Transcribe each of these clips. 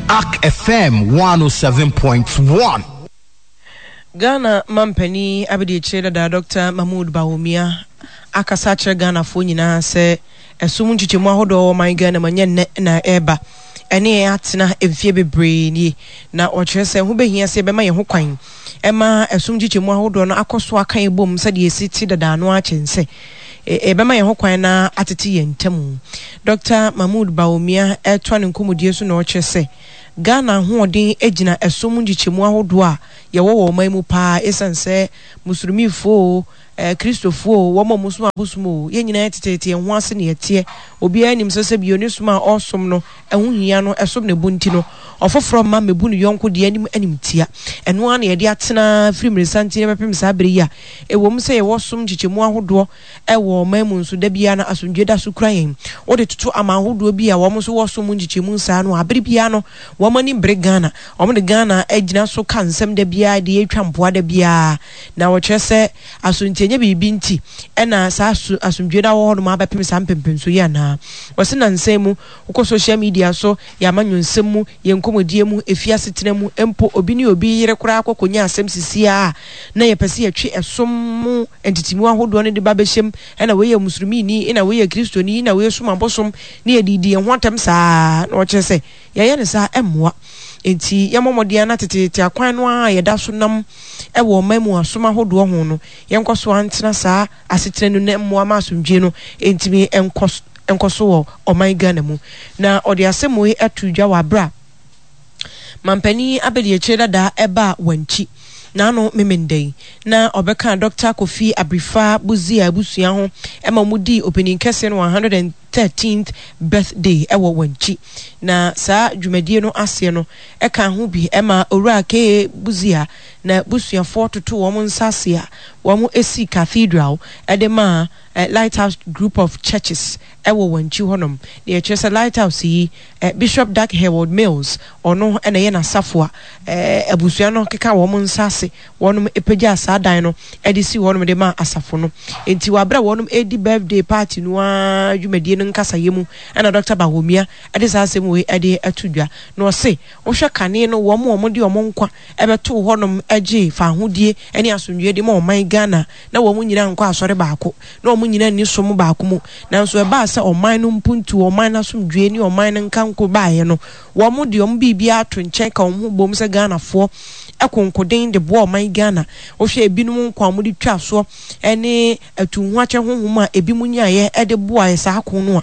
Ark FM 107.1. Ghana mampanin abadiakyire dada Dɔkta Mahmood Bawumia akasa akyerɛ Ghanafoɔ nyinaa sɛ ɛsom nkyekyɛmu ahodoɔ wɔ ɔman Ghana mu ɛnyɛ nnɛ na ɛreba, ɛne yɛn atena mfeɛ bebree nie. Na ɔkyerɛ sɛ ɛho bɛhia sɛ yɛbɛma yɛn ho kwan ma ɛsom nkyekyɛmu ahodoɔ no akɔ so aka yɛn bom sɛdeɛ ɛsi te dada no ara kyɛn sɛ yɛbɛma yɛn ho kwan na atete yɛn ntam. Dɔkta Mahmood Bawumia retoa ne nkɔmmɔdie so na ɔkyerɛ sɛ Ghana ahoɔden gyina ɛsom nkyekyɛmu ahodoɔ a yɛwɔ wɔ ɔman mu paa ɛsiane sɛ Musulmifoɔ oo, Kristofoɔ oo, wɔn a wɔsom abosom oo, yɛn nyinaa yɛteteete yɛn ho ase na yɛteɛ. Obiara nim sɛ sɛbio ne som a ɔresom no ɛho hia no, ɛsom ne bo nti no, ɔfoforɔ mma mmɛbu ne yɔnko deɛ anim animtia. Ɛno ara na yɛde atena firi mmeresanten bɛpem saa berɛ yi a ɛwom sɛ yɛwɔ som nkyekyɛmu ahodoɔ wɔ ɔman mu nso, da biara no asomdwoeɛ da so kura yɛn. Wode toto aman ahodoɔ bi a wɔn nso wɔ som nkyekyɛmu saa no a, bere biara no wɔn ani bere Ghana. Wɔde Ghana gyina so ka nsɛm da biara de twa mpoa da biara. Na wɔkyerɛ sɛ asontie nyɛ biribi nti na saa asomdwoeɛ no awɔ hɔnom abɛpem saa mpɛnpɛnsoɔ yi anaa. Wɔse nnansa yi mu, wokɔ social media so, yɛn amanyɔnsɛm mu, yɛn nkɔmmɔdie mu, efie asetena mu, mpo obi ne obi yere koraa kɔ kɔnya asɛm sisi ara a, na yɛpɛ sɛ yɛtwe ɛsom mu ntetemu ahodoɔ no de ba bɛhyɛ mu, ɛna wei yɛ Musulmini, ɛna wei yɛ Kristoni, ɛna wei som abosom, na yɛde redi yɛn ho atɛm saa ara, na wɔkyerɛ sɛ yɛyɛ no saa a ɛmmoa. Enti yɛmmɔ mmɔden ara na teteete akwan no ara a yɛda so nam wɔ ɔman mu asom ahodoɔ ho no, yɛnkɔ so ara ntena saa asetena no na mmoa ma asomdwoeɛ no ntumi nkɔ nkɔ so wɔ ɔman Ghana mu. Na ɔde asɛm wei ato dwa wɔ aberɛ a mampanin abadiakyire dada ɛbaa Wankyi n'ano Memenda yi na ɔbɛkaa Dɔkta Kofi Abirifa Busia abusua ho ma wɔdii ɔpanin kɛseɛ no 113th birthday wɔ Wankyi. Na saa dwumadie no aseɛ no ɛkaa ho bi ma Owura KA Busia na busuafoɔ totoo wɔn nsa ase a wɔsii Cathedral de maa Lighthouse Group of Churches wɔ Wankyi hɔnom. Deɛ ɛkyerɛ sɛ Lighthouse yi, Bishop Dag Heward-Mills, ɔno na ɛyɛ n'asafo a abusua no keka wɔn nsa ase, wɔnom pagyaa saa dan no de sii hɔnom de maa asafo no. Enti wɔ aberɛ a wɔnom redi birthday party no ara dwumadie no nkasayɛ mu na Dɔkta Bawumia de saa asɛm wei de ato dwa. Na ɔse, wohwɛ kane no wɔn a wɔde wɔn nkwa bɛtoo hɔnom gyee fawohodie ne asomdwoeɛ de ma ɔman Ghana na wɔn nyinaa nkɔ asɔre baako, na wɔn nyinaa nni som baako mu. Nanso ɛbaa sɛ ɔman no mpuntuo, ɔman no asomdwoeɛ ne ɔman no nkanko baeɛ no, wɔn de wɔn biribiara to nkyɛn ka wɔn ho bom sɛ Ghanafoɔ konkoden de boa ɔman Ghana. Wohwɛ ebinom nkwa a wɔde twaa soɔ ne atuhoakyɛ honhom a ebinom nyaeɛ de boaeɛ saa ko no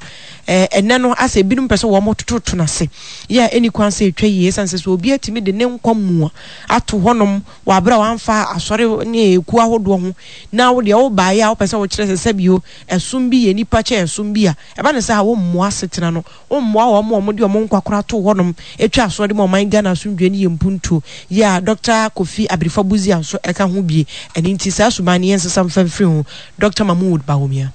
a, ɛnnɛ no asɛ ebinom pɛ sɛ wɔtototo no ase. Yɛ a ɛnni kwan sɛ ɛtwa yie ɛsiane sɛ sɛ obi atumi de ne nkwa mua ato hɔnom wɔ aberɛ a wamfa asɔre ne ekuo ahodoɔ ho na wo deɛ wobaeɛ a wopɛ sɛ wokyerɛ sɛ sɛbio ɛsom bi yɛ nnipa kyɛn ɛsom bi a, ɛba no saa a wommoa asetena no, wommoa wɔn a wɔde wɔn nkwa koraa too hɔnom twaa soɔ de ma ɔman Ghana asomdwoeɛ ne yɛn mpuntuo yɛ a Dɔkta Kofi Abirifa Busia nso ka ho bie. Ɛno nti saa suban no yɛnsesa mfa mfiri ho. Dɔkta Mahmood Bawumia.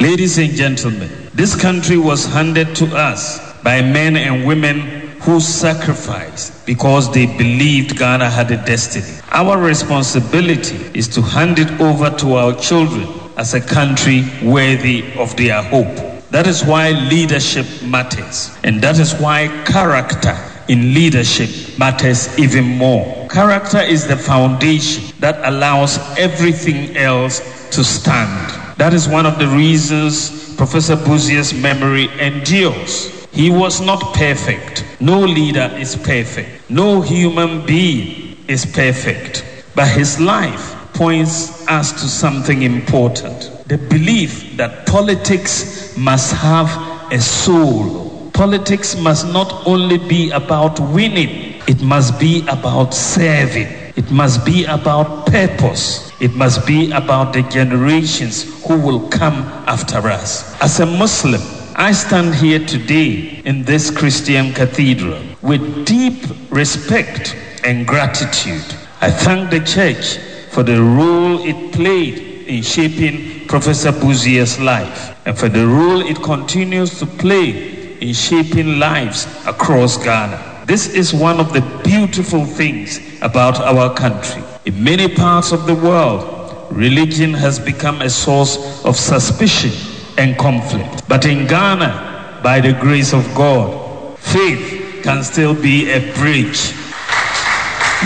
Ladies and gentlemen, this country was handed to us by men and women who sacrificed because they believed Ghana had a destiny. Our responsibility is to hand it over to our children as a country worthy of their hope. That is why leadership matters, and that is why character in leadership matters even more. Character is the foundation that allows everything else to stand. That is one of the reasons Professor Busia's memory endures. He was not perfect. No leader is perfect. No human being is perfect. But his life points us to something important the belief that politics must have a soul. Politics must not only be about winning, it must be about serving. It must be about purpose. It must be about the generations who will come after us. As a Muslim, I stand here today in this Christian cathedral with deep respect and gratitude. I thank the church for the role it played in shaping Professor Busia's life and for the role it continues to play in shaping lives across Ghana. This is one of the beautiful things about our country. In many parts of the world, religion has become a source of suspicion and conflict. But in Ghana, by the grace of God, faith can still be a bridge.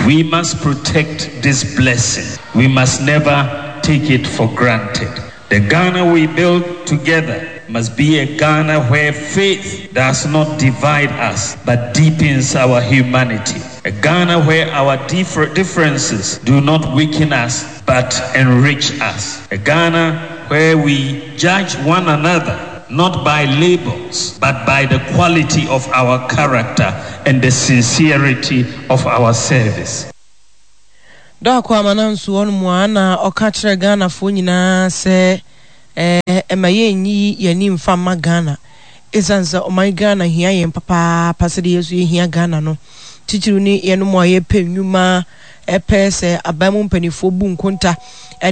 We must protect this blessing. We must never take it for granted. The Ghana we build together must be a Ghana where faith does not divide us but deepens our humanity. A Ghana where our differ- differences do not weaken us but enrich us. A Ghana where we judge one another not by labels but by the quality of our character and the sincerity of our service. Doakɔ Amananso hɔ nom a na ɔka kyerɛ Ghanafoɔ nyinaa sɛ ɛma yɛnyi yɛn ani mfa mma Ghana ɛsiane sɛ ɔman Ghana hia yɛn papaapa sɛdeɛ yɛn nso yɛhia Ghana no. Titiriw ne yɛnom a yɛpɛ nnwuma, ɛpɛ sɛ aban mu mpanimfoɔ bu nkonta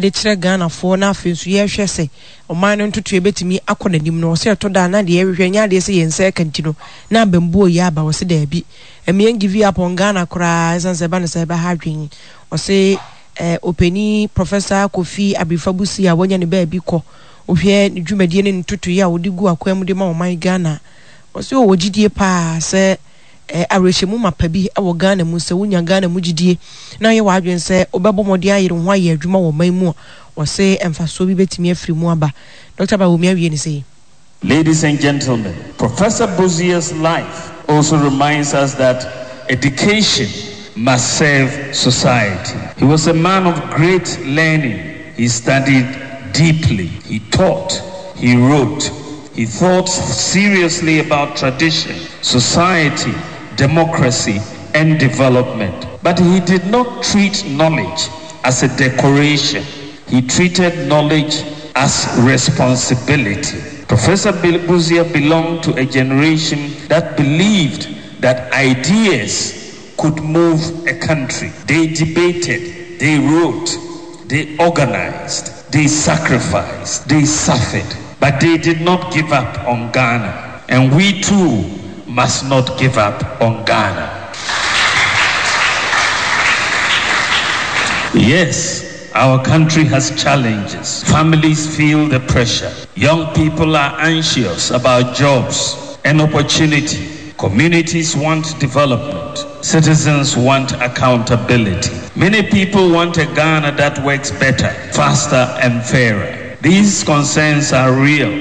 de kyerɛ Ghanafoɔ na afei nso yɛhwɛ sɛ ɔman no ntotoeɛ bɛtumi akɔ n'anim no. Ɔsɛ ɛtɔ da a na deɛ yɛhwehwɛ nyɛ adeɛ sɛ yɛn nsa ɛka nti no na abambuo yɛ aba. Ɔse daabi. Ɛmma yɛn give up on Ghana koraa ɛsiane sɛ ɛba no saa ɛbɛha adwene. Ɔse eh, ɔpanin Professor Kofi Abirifa Busia a wanya ne baabi kɔ, wohwɛ ne dwumadie ne ne ntotoeɛ a ɔde gu akwan mu de ma ɔman Ghana a, ɔse ɔwɔ gyidie paa sɛ eh, awerɛhyɛmu mapa bi wɔ Ghana mu. Sɛ wonya Ghana mu gyidie na woyɛ w'adwene sɛ wobɛbɔ mmɔden ayere wo ho ayɛ adwuma wɔ ɔman mu a, ɔse mfasoɔ bi bɛtumi afiri mu aba. Dɔkta Bawumia awie ne sei. Ladies and gentlemen, Professor Busia's life also reminds us that education must serve society. He was a man of great learning. He studied deeply. He taught. He wrote. He thought seriously about tradition, society, democracy, and development. But he did not treat knowledge as a decoration. He treated knowledge as responsibility. Professor Busia belonged to a generation that believed that ideas could move a country. They debated, they wrote, they organized, they sacrificed, they suffered, but they did not give up on Ghana. And we too must not give up on Ghana. Yes, our country has challenges. Families feel the pressure. Young people are anxious about jobs and opportunity. Communities want development. Citizens want accountability. Many people want a Ghana that works better, faster, and fairer. These concerns are real.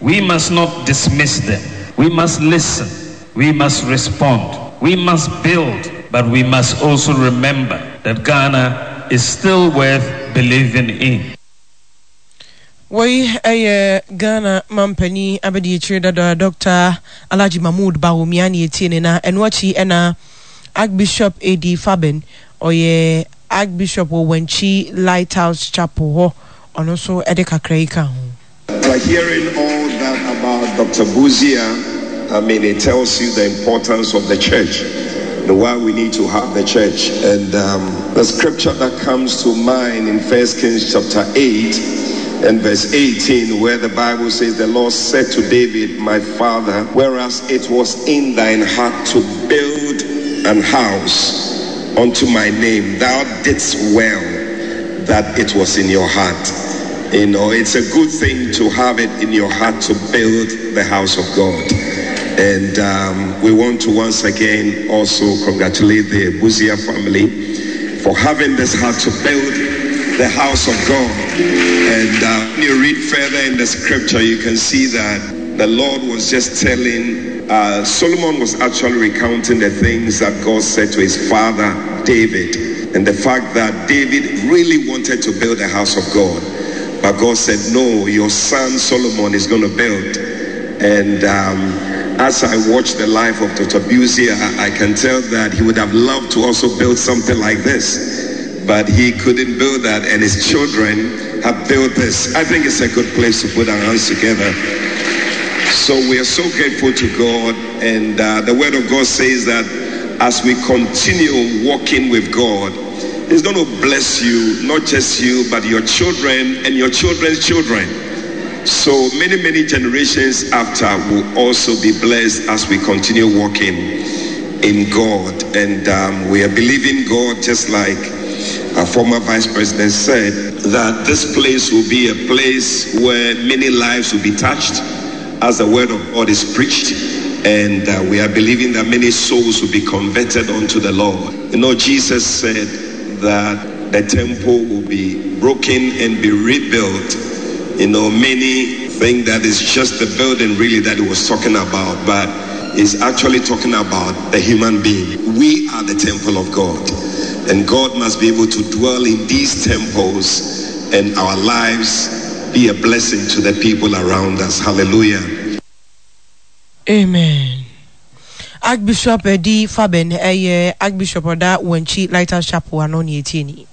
We must not dismiss them. We must listen. We must respond. We must build. But we must also remember that Ghana is still worth believing in. Wei yɛ Ghana mampanin abadiakyire dada Dɔkta Alhaji Mahmood Bawumia ne yɛtie ne na ɛno akyi ɛna Archbishop A.D. Faben ɔyɛ Archbishop wɔ Wankyi Lighthouse Chapel hɔ ɔno nso ɛde kakra yi ka ho. After hearing all that about Dr. Buzia, I mean, it tells you the importance of the church and why we need to have the church. And um, the scripture that comes to mind in First Kings chapter 8 and verse 18, where the Bible says, The Lord said to David, My father, whereas it was in thine heart to build an house unto my name, thou didst well that it was in your heart. You know, it's a good thing to have it in your heart to build the house of God. And um, we want to once again also congratulate the Buzia family for having this heart to build the house of God. And uh, when you read further in the scripture, you can see that the Lord was just telling, uh, Solomon was actually recounting the things that God said to his father David. And the fact that David really wanted to build a house of God. But God said, No, your son Solomon is going to build. And um, as I watch the life of Dr. Busia, I can tell that he would have loved to also build something like this. But he couldn't build that, and his children have built this. I think it's a good place to put our hands together. So we are so grateful to God, and uh, the Word of God says that as we continue walking with God, He's going to bless you, not just you, but your children and your children's children. So many, many generations after will also be blessed as we continue walking in God. And um, we are believing God, just like our former vice president said, that this place will be a place where many lives will be touched as the word of God is preached. And uh, we are believing that many souls will be converted unto the Lord. You know, Jesus said that the temple will be broken and be rebuilt. You know, many think that it's just the building really that he was talking about, but he's actually talking about the human being. We are the temple of God, and God must be able to dwell in these temples and our lives be a blessing to the people around us. Hallelujah. Amen. Archbishop Edi Faben ɛyɛ Archbishop ɔda Wankyi Lighthouse Chapel ano ne etie ni.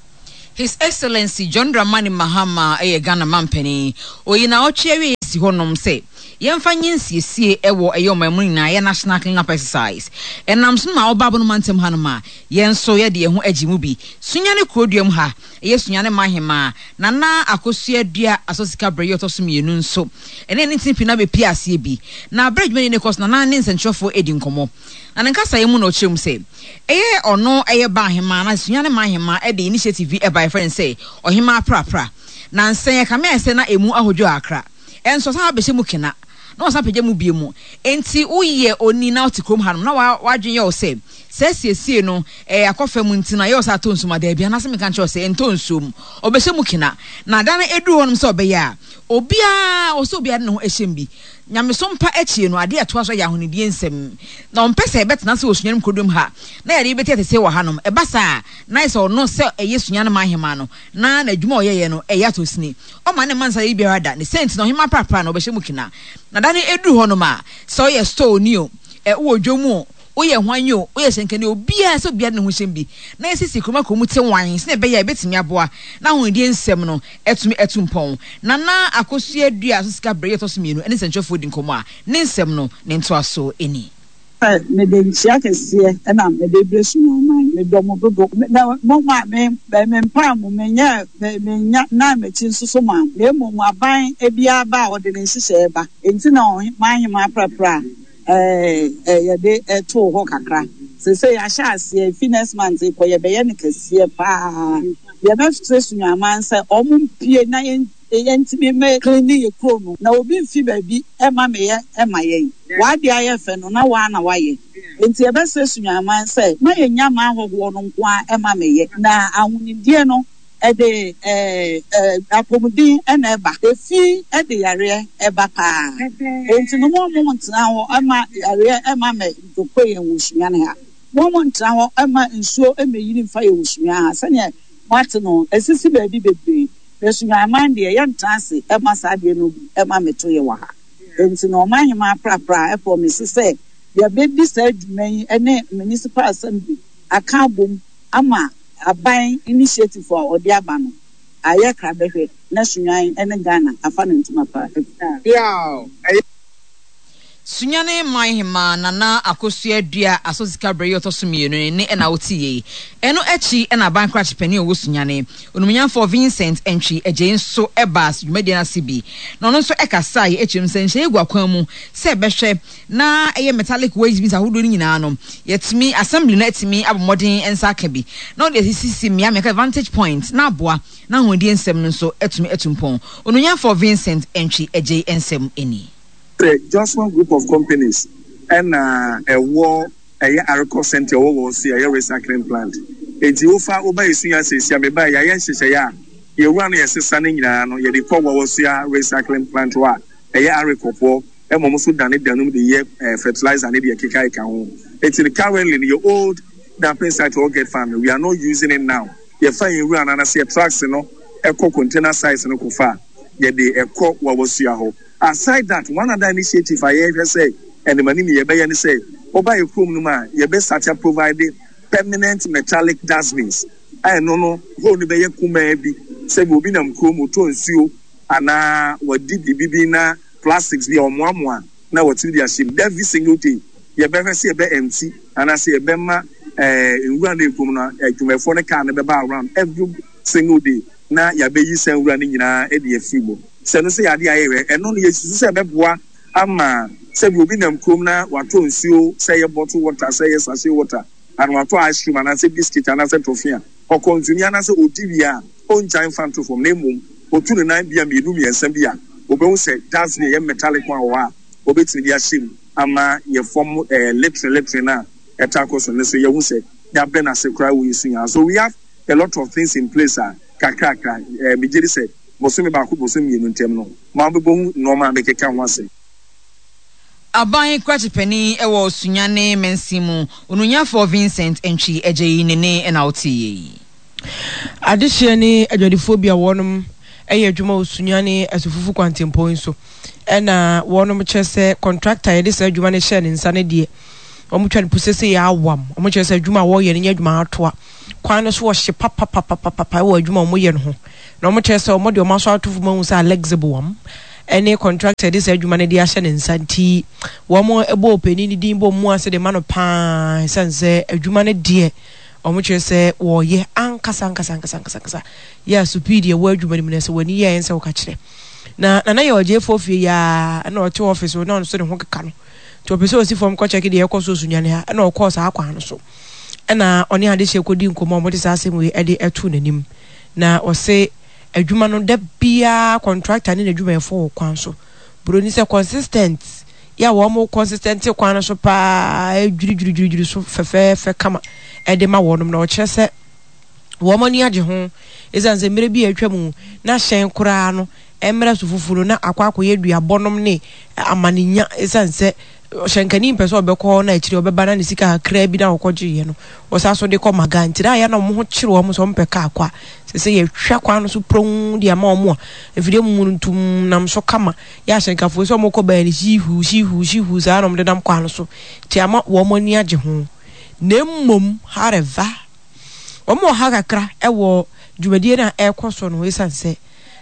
His Excellency John Dramani Mahama yɛ Ghana manpanin. Oyi naawɔtwe awieɛ si hɔ nom sɛ yɛmfa nyɛ nsiesie wɔ ɛyɛ ɔman mu no nyinaa yɛ National Clean Up Exercise. Ɛnam so no ma ɔba Abono mantam ha nom a yɛn nso yɛde yɛn ho agye mu bi. Sunyani kurodua mu ha yɛ Sunyani Manhemaa Nana Akosua Dua Asɔ Sika berɛ yi ɔtɔ so mmienu nso ɛne ne ntini pii no abɛpue aseɛ bi. Na berɛ a dwumadie no rekɔ so Nana ne nsɛntwerɛfoɔ redi nkɔmmɔ. Na ne nkasaeɛ mu na ɔkyerɛ mu sɛ ɛyɛ ɔno ɛyɛ ba ahemaa na Sunyani Manhemaa de initiative bi baeɛ yɛfrɛ no sɛ Ɔhemaa Prapra. Nansa yi ɛkame ayɛ sɛ na ɛmu ahodwo akra. Ɛnso ɔsan abɛhyɛ mu kena na wasan apagya mu bio mu. Enti woyɛ onii na wote kurom hanom na w'adwene yɛ wo sɛ saa asiesie no ɛyɛ akɔ fam nti no ayɛ wo sɛ atɔ nsuom a, daabi, anaasɛ meka nkyerɛ wo sɛ ɛntɔ nsuom. Ɔbɛhyɛ mu kena. Na da no ɛduru hɔnom sɛ ɔbɛyɛ a, obiara, ɔwɔ sɛ obiara de ne ho hyɛ mu bi. Nyamesom pa akyire no, adeɛ a ɛtoa so yɛ ahonidie nsɛm. Na ɔmpɛ sɛ yɛbɛtena ase wɔ Sunyani kurodua mu ha na yɛde bɛti atese wɔ hanom. Ɛba saa a, na ayɛ sɛ ɔno sɛ ɛyɛ Sunyani man hemaa no, na n'adwuma a ɔyɛeɛ no ɛyɛ atɔsini. Ɔmma ne mma nsa yɛ biara da. Ne saa nti no, ɔhemaa prapra no, ɔbɛhyɛ mu kena. Na da no ɛduru hɔnom a, sɛ ɔyɛ store ni o, ɛ, wowɔ dwom o, woyɛ hwan o, woyɛ hyɛnkani o, obiara, sɛ obiara de ne ho hyɛ mu bi, na yɛsiesie kurom akɔ mu te wann, sɛnea ɛbɛyɛ a ɛbɛtumi aboa na ahonidie nsɛm no atumi atu mpɔn. Nana Akosua Duah so sika berɛ yi ɔtɔ so mmienu ne nsɛntwerɛfoɔ di nkɔmmɔ a, ne nsɛm no ne ntoasoɔ ni. Mede nkyea kɛseɛ na mede rebrɛ Sunyani. Medɔ mo dodo. Na mo maa me mempaa mo, menyɛɛ mennya nan m'akyi nso so maa mo. Na mmom aban biara ba a, ɔde ne nhyehyɛeɛ ba. Enti na m'aheman aprapra a yɛde too hɔ kakra. Seesei yɛahyɛ aseɛ, ɛfiri next month rekɔ yɛbɛyɛ no kɛseɛ pa ara. Yɛbɛsrɛ Sunyaniman sɛ wɔmpue na yɛn. Yɛntumi mmɛ cleane yɛ kuro no na obi mfi baabi mma meyɛ ma yɛn. W'adeɛ ayɛ fɛ no na woa na woayɛ. Enti yɛbɛsrɛ Sunyaniman sɛ ma yɛnnya mma ahɔhoɔ no nko ara mma meyɛ. Na ahonidie no ɛde apɔmuden na ɛba. Efi de yareɛ ba paa. Enti no mo mo ntena hɔ mma yareɛ mma mɛ doko yɛn wɔ Sunyani ha. Mo mo ntena hɔ mma nsuo mmɛyiri mfa yɛn wɔ Sunyani ha sɛdeɛ moate no ɛsisi baabi bebree. Na Sunyani deɛ yɛntena ase mma saa adeɛ no bi mma mmeto yɛ wɔ ha. Enti no Ɔmanhemaa Prapra prɔmese sɛ yɛbɛdi saa dwuma yi ne Municipal Assembly aka abom ama aban initiative a ɔde aba no ayɛ krabɛhwɛ na Sunyani ne Ghana afa no ntoma pa afira. Sunyani man hemaa Nana Akosua Dua Asɔ Sika berɛ yi ɔtɔ so mmienu no nne na wote yei. Ɛno akyi na aban krakye panin a ɔwɔ Sunyani, Onimonyamfoɔ Vincent Antwi Adjei nso baa dwumadie no ase bi na ɔno nso kasaeɛ kyerɛ mu sɛ nhyehyɛeɛ gu akwan mu sɛ ɛbɛhwɛ na ɛyɛ metallic waste bins ahodoɔ no nyinaa no yɛatumi assembly no atumi abɔ mmɔden nsa aka bi na wɔde asisisi mmea mmea vantage point na aboa na ahonidie nsɛm no nso atumi atu mpɔn. Onimonyamfoɔ Vincent Antwi Adjei nsɛm ni. Sɛ Jospong Group of Companies na ɛwɔ ɛyɛ Arikɔ Centre ɛwɔ wɔ so yɛayɛ recycling plant. Enti wofa woba Esunya seesia mebae yɛayɛ nhyehyɛeɛ a yɛwura no yɛsesa ne nyinaa no yɛde kɔ Wawasua recycling plant hɔ a ɛyɛ Arikɔ foɔ ɛma wɔn nso dane danum de yɛ fertilizer ne deɛ ɛkeka ɛka ho. Enti no currently no yɛ old dumping site wɔ Get Farm no we are not using it now. Yɛfa yɛn wura no anaasɛ yɛ trucks no ɛkɔ container size no kɔfa a yɛde ɛkɔ Wawasua hɔ. Aside that, one other initiative a yɛrehwɛ sɛ animanim yɛbɛyɛ ne sɛ, woba yɛn kurom no mu a, yɛbɛ start a provide permanent metallic dustbins a ɛno no hole no bɛyɛ kumaa bi sɛ bi obi nam kurom ɔtɔ nsuo anaa wadi biribi bi na plastics bi a ɔmoamoa na watumi de ahyɛ mu. Every single day yɛbɛhwɛ sɛ yɛbɛ empty anaasɛ yɛbɛma eh, nwura no a ɛgu mu no adwumayɛfoɔ no car no bɛba around every single day na yɛabɛyi saa nwura no nyinaa de afiri mu. Sɛ ɛno nso yɛ adeɛ a yɛyɛ, ɛno no yɛsusu sɛ ɛbɛboa ama sɛbi obi nam kurom na watɔ nsuo, sɛ ɛyɛ bottle water, sɛ ɛyɛ sachet water, anaa watɔ ice cream anaasɛ biscuit anaasɛ toffee a, ɔkɔnsumi anaasɛ ɔdi wie a, ɔngyae mfa nto fam na mmom ɔtu ne nan bea mmienu mmiɛnsa bi a, ɔbɛhu sɛ dustbin a ɛyɛ metallic one wɔ hɔ a ɔbɛtumi de ahyɛ mu. ama yɛ fam eh, littering littering no a ɛtaa kɔ so no nso yɛahu sɛ yɛabrɛ no ase koraa wɔ yɛn sunya. So we have a lot of things in place a kakrakra eh, megye di sɛ bosome baako bosome mmienu ntam no moabɛbɔ hu nnoɔma a mekeka ho asɛm. Aban krakye panin wɔ Sunyani mansin mu, Onunyafoɔ Vincent Antwi Agyei ne ne na woteeɛ yi. Adehyeɛ ne adwadifoɔ bi a wɔnom yɛ adwuma wɔ Sunyani Asufufu kwantempɔn yi so na wɔnom kyerɛ sɛ kɔntrakta a yɛde saa adwuma no hyɛɛ ne nsa no deɛ wɔn twa no pu sese yɛ awam. Wɔn kyerɛ sɛ adwuma a wɔyɛ no nyɛ adwuma atoa. Kwan no so ɔhye papapapapapa wɔ adwuma a wɔyɛ no ho. Na wɔn kyerɛ sɛ wɔn de wɔn aso ato fam ahu sɛ Alex Boam ne kɔntrakta a yɛde saa adwuma no de ahyɛ ne nsa nti wɔn bɔ ɔpanin no din bɔ mu ase de ma no paa ɛsiane sɛ adwuma no deɛ Wɔkyerɛ sɛ wɔreyɛ ankasa ankasa ankasa ankasa ankasa yɛ a supii deɛ ɛwɔ adwuma no mu no sɛ w'ani yɛ a ɛnsɛ woka kyerɛ. Na Nana yɛ ɔgyeefoɔ fie yi ara ɛna ɔte office hɔ na ɔno nso ne ho keka no nti ɔpɛ sɛ ɔsi fam kɔ kyɛke deɛ ɛkɔ so Sunyani ha ɛna ɔkɔɔ saa kwan no so ɛna ɔne adehyeɛ kɔdi nkɔmmɔ a wɔde saa asɛm wei ɛde ɛtoo n'anim na ɔse adwuma no da biara contractor ne n'adwumayɛfoɔ wɔ kwan so Buroni sɛ consistent yɛ a wɔn consistent kwan no so paa dwiridwiridwiri so fɛfɛɛfɛ kama ɛde ma wɔnom na ɔkyerɛ sɛ wɔn ani agye ho ɛsiane sɛ mmerɛ bi a atwa mu na hyɛn koraa no mmerɛ so fufuo no na akɔ akɔyɛ duabɔnom ne amanenya ɛsiane sɛ ɔhyɛnkani mpɛ sɛ ɔbɛkɔ hɔ na akyire ɔbɛba na ne sika kakraa bi na ɔkɔgyeeɛ no ɔsa so de kɔ maga nti na ayɛ na wɔn ho kyere wɔn sɛ wɔmpɛ kaa kɔ a sɛ sɛ yɛhwɛ kwan no so pronn de ama wɔn a mfidie mu no ntum nam so kama yɛ ahyɛnkafoɔ sɛ wɔkɔ baa no hiihuu hiihuu hiihuu saa na wɔde nam kwan no so nti ama wɔn ani agye ho na mmom however wɔn wɔ ha kakra wɔ dwumadie no a ɛrekɔ so no ɛsiane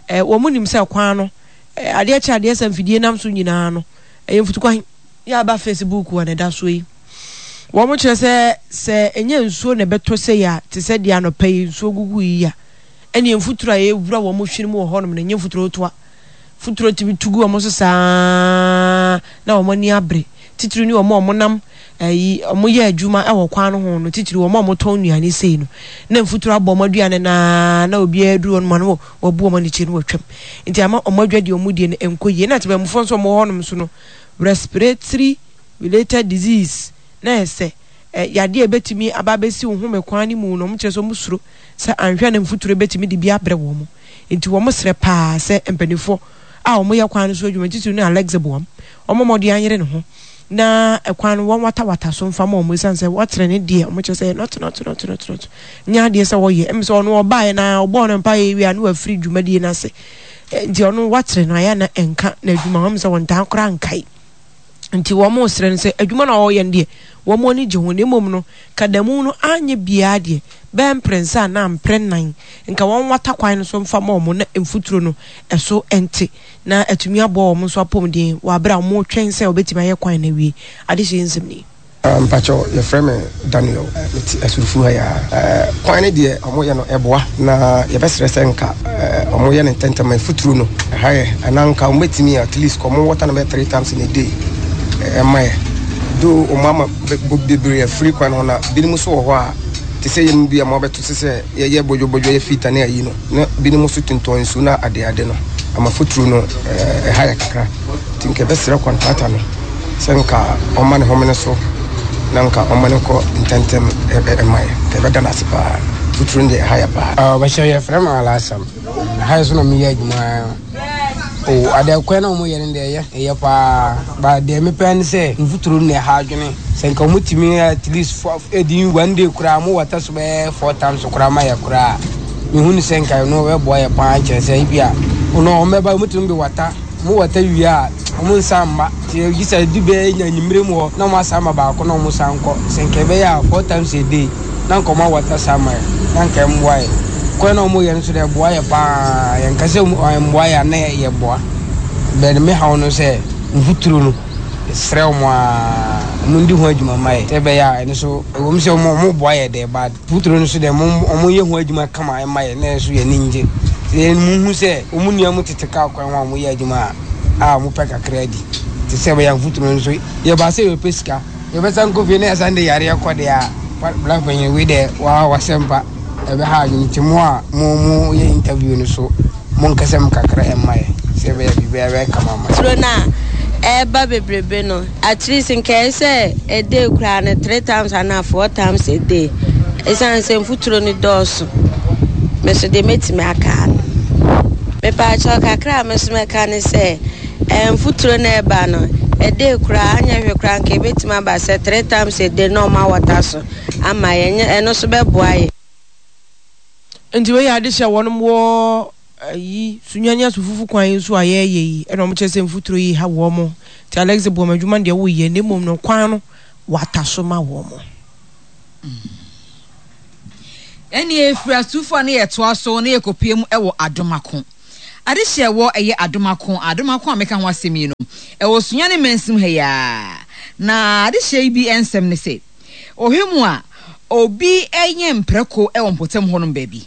sɛ wɔn nim sɛ kwan no adeɛ kyɛ adeɛ sɛ mfidie nam so nyinaa no Ɛyɛ mfutukwan yi a aba Facebook a na ɛda soɔ yi. Wɔn kyerɛ sɛ sɛ ɛnyɛ nsuo na ɛbɛtɔ sei a te sɛ deɛ anɔpa yi nsuo gugu yi a ɛneɛ mfuturo a ɛwura wɔn hwene mu wɔ hɔnom no ɛnyɛ mfuturo toa. Mfuturo tumi tu gu wɔn so saa na wɔn ani abere. Titiri ne wɔn a wɔnam ɛyi wɔyɛ adwuma wɔ kwan no ho no titiri wɔn a wɔtɔn nnuane sei no na mfuturo abɔ wɔn aduane naa na obiara duru wɔn mu ano wɔabu wɔn anikye no wɔatwam nti ama wɔn adwa deɛ wɔn die no nkɔ yie na temanmufoɔ nso wɔn wɔ hɔnom nso no respiratory related disease na ɛsɛ yadeɛ a ɛbɛtumi aba abɛsi wo home kwan no mu no wɔn kyerɛ sɛ wɔn suro sɛ anhwɛ na mfuturo bɛtumi de bi abrɛ wɔn nti wɔn srɛ paa sɛ mpanimfoɔ a wɔyɛ kwan no so adwuma titiri ne Alex Boam wɔn mmɔden anyere ne ho na ɛkwan no wɔnwatawata so mfa ma wɔn esiane sɛ wɔkyerɛ ne deɛ wɔn kyerɛ sɛ nɔte nɔte nɔte nɔte nɔte nyɛ adeɛ sɛ wɔyɛ ɛmu sɛ ɔno ɔbaeɛ na ɔbɔɔ no mpaeɛ wie a na wafiri dwumadie no ase nti ɔno wakyerɛ no ayɛ na ɛnka na adwuma wɔn sɛ wɔn ntaa koraa nkae nti wɔn srɛ no sɛ adwuma na ɔreyɛ no deɛ wɔn ani gye ho na mmom no kadamu no anyɛ biara deɛ bɛyɛ mprɛnsa anaa mprɛnnan nka wɔn wata kwan no so mfa ma wɔn na mfuturo no ɛso nte na atumi aboa wɔn nso apɔmuden wɔ abere a wɔretwɛn sɛ wɔbɛtumi ayɛ kwan no awie. Adehyeɛ nsɛm ni. Mpakyɛw yɛfrɛ me Daniel mete Asurufu ha yi ara. Kwan no deɛ ɔmo yɛ no ɛboa na yɛbɛsrɛ sɛ nka ɔmo yɛ no ntɛntɛm afuturo no ɛha yɛ anaa nka ɔmo bɛtumi at least ɔmo wɔta no bɛyɛ 3 times in a day ɛma yɛ do ɔmo ama bebree afiri kwan ho na binom nso wɔ hɔ a te sɛ yɛn bi a mo abɛto sɛ sɛ yɛyɛ bɔdwobɔdwo yɛ fita ne ayi no na binom nso tontɔn nsu na adeade no ama futuro no ɛha yɛ kakra nti nka ɛbɛsrɛ kɔntrata no sɛ nka ɔma ne homene so na nka ɔma no nkɔ ntɛntɛm ɛma yɛ nka ɛbɛda no ase paa futuro no deɛ ɛha yɛ paa. Ɔbɛhyɛ yɛfrɛ me Alhassan ha yɛ so na meyɛ adwuma o adeɛ kwan na wɔyɛ no deɛ ɛyɛ ɛyɛ paa ba deɛ mepɛ ne sɛ mfuturo no na ɛha adwene sɛ nka wɔtumi at least for ɛdi one day koraa mo wata so bɛyɛ four times koraa ma yɛ koraa mehu ne sɛ nka ɛno ɛbɛboa yɛ paa kyerɛ sɛ ebi a ɔno wɔn bɛba wɔtumi de wata mo wata wie a wɔn nsa mma nti gye sɛ ɛdu bɛyɛ nya anwummerɛ mu hɔ na wɔn asan ma baako na wɔn san kɔ sɛ nka ɛbɛyɛ a four times a day na nka wɔn awata saa ma yɛ na nka ɛmmoa yɛ kwan na wɔn yɛ no nso deɛ ɛboa yɛ paa yɛn nka sɛ ɛmmoa yɛ a na yɛ boa bɛn me haw no sɛ mfuturo no srɛ wɔn a wɔn di ho adwuma ma yɛ sɛ ɛbɛyɛ a ɛno nso ɛwɔ mu sɛ wɔn wɔn boa yɛ deɛ but mfuturo no nso deɛ wɔn wɔn yɛ ho adwuma kama ɛma yɛ na ɛnso yɛ ani ngye sɛ yɛn mu hu sɛ wɔn nua mu tete kaa kwan ho a wɔn yɛ adwuma a a wɔn pɛ kakra adi te sɛ ɛbɛyɛ mfuturo no nso yɛ ba sɛ yɛpɛ sika. Yɛbɛsan kɔ fie na yɛasan de yareɛ kɔ deɛ a, bra panyin wei deɛ waa wasɛmpa ɛbɛha adwene nti mo a mo mo yɛ interview no so mo nkasa mu kakra ɛmma yɛ sɛ ɛbɛyɛ biribiara bɛyɛ kama ama yɛ. Turo no a ɛreba bebrebe no, at least nka ɛyɛ sɛ a day koraa no three times anaa four times a day. Ɛsiane sɛ mfuturo no dɔɔso. Me nso deɛ mɛtumi aka no. Mepaakyɛw kakra a me nso mɛka ne sɛ mfuturo no ɛreba no, a day koraa anyɛ hwee koraa nka ɛbɛtumi aba sɛ three times a day na ɔma wɔta so ama yɛn. Ɛno nso bɛboa yɛn. Nti wei yɛ adehyɛ a wɔnom wɔ ayi Sunyani Asufufu kwan yi nso a yɛɛyɛ yi ɛna wɔn kyerɛ sɛ mfuturo yi ha wɔn nti Alex boa ma adwuma no deɛ woyɛ na mmom no kwan no wata so ma wɔn. Ɛnneɛ ɛfiri Asufufu a na yɛtoa so na yɛkɔpue mu wɔ Adomako. Adehyeɛ ɛwɔ ɛyɛ Adomako, Adomako a meka ho asɛm yi no, ɛwɔ Sunyani mansin ha yi ara. Na adehyeɛ yi bi nsɛm ne sɛ. Ɔhwɛ mu a, obi nyɛn mprako wɔ mpɔtam hɔnom baabi.